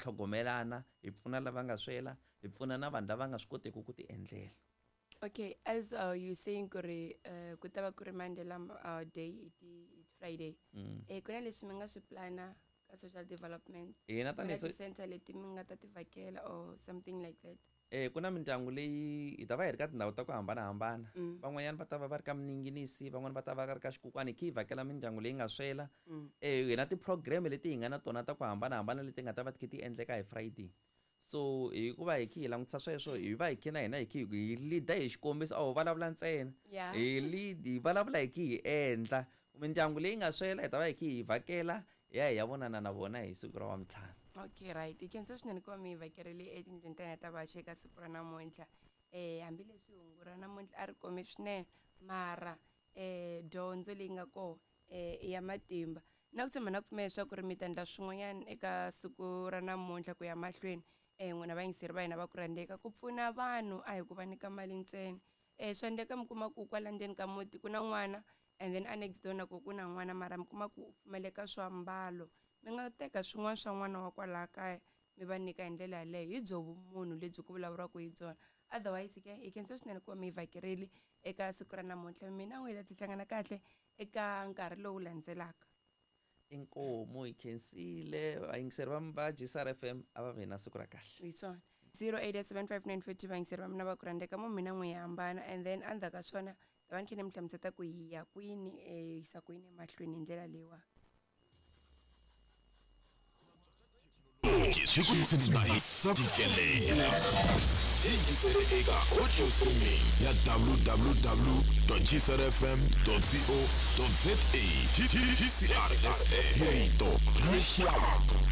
tlhogomelana, hi pfuna lava nga swela, hi pfuna na vanhu lava nga swi koteki ku ti endlela. Okay, as you saying ku ri ku ta va ku ri Mandela Day hi ti Friday. Ku na leswi mi nga swi plana ka social development? Hina Ku na tanihi ti-center leti mi nga ta ti vhakela or something like that? Ku na mindyangu leyi hi ta va hi ri ka tindhawu ta ku hambanahambana. Van'wanyana va ta va va ri ka Mininginisi, van'wani va ta va ri ka Xikukwani, hi kha hi vhakela mindyangu leyi nga swela. Hi na ti-program leti hi nga na tona ta ku hambanahambana leti nga ta va ti kha ti endleka hi Friday. So hikuva hi kha hi langutisa sweswo, hi va hi kha na hina hi kha hi leader hi xikombiso, a ho vulavula ntsena. Hi lead, hi vulavula hi kha hi endla. Mindyangu leyi nga swela hi ta va hi kha hi vhakela, hi ya hi ya vonana na vona hi siku ra Wavuntlhanu. Okay, right. Hi khensa swinene ku va mi hi vhakerile etindlwini ta hina ta vaxi eka siku ra namuntlha. Hambileswi hungu ra namuntlha a ri kome swinene, mara dyondzo leyi nga kona i ya matimba. Na ku tshemba na ku pfumela leswaku ri mi ta endla swin'wanyana eka siku ra namuntlha ku ya mahlweni. N'wina vayingiseri va hina va ku rhandzeka, ku pfuna vanhu a hi ku va nyika mali ntsena. Swa endleka mi kuma ku kwala ndzeni ka muti ku na n'wana, and then a next door na ku ku na n'wana, mara mi kuma ku u pfumaleka swiambalo. Mi nga teka swin'wana swa n'wana wa kwalaya kaya mi va nyika hi ndlela yaleyo. Hi byo vumunhu lebyi ku vulavuriwaka hi byona. Otherwise ke hi khensa swinene ku va mi hi vhakerile eka siku ra namuntlha. Mina n'we hi ta hlangana kahle eka nkarhi lowu landzelaka. Inkomu hi khensile vayingiseri va GCR FM, a va vi na siku ra kahle. Hi swona. 0875940, vayingiseri va mina va ku rhandzeka, mo mina n'we hi hambana, and then endzhaku ka swona ta va ni kha ni mi hlamuseta ku hi ya kwini, yisa kwini emahlweni hi ndlela leyiwani. Swi ku tshinela hi tikelela. Yingisele eka audio streaming ya www.gcrfm.co.za. GCR FM, hi rito ra rixaka.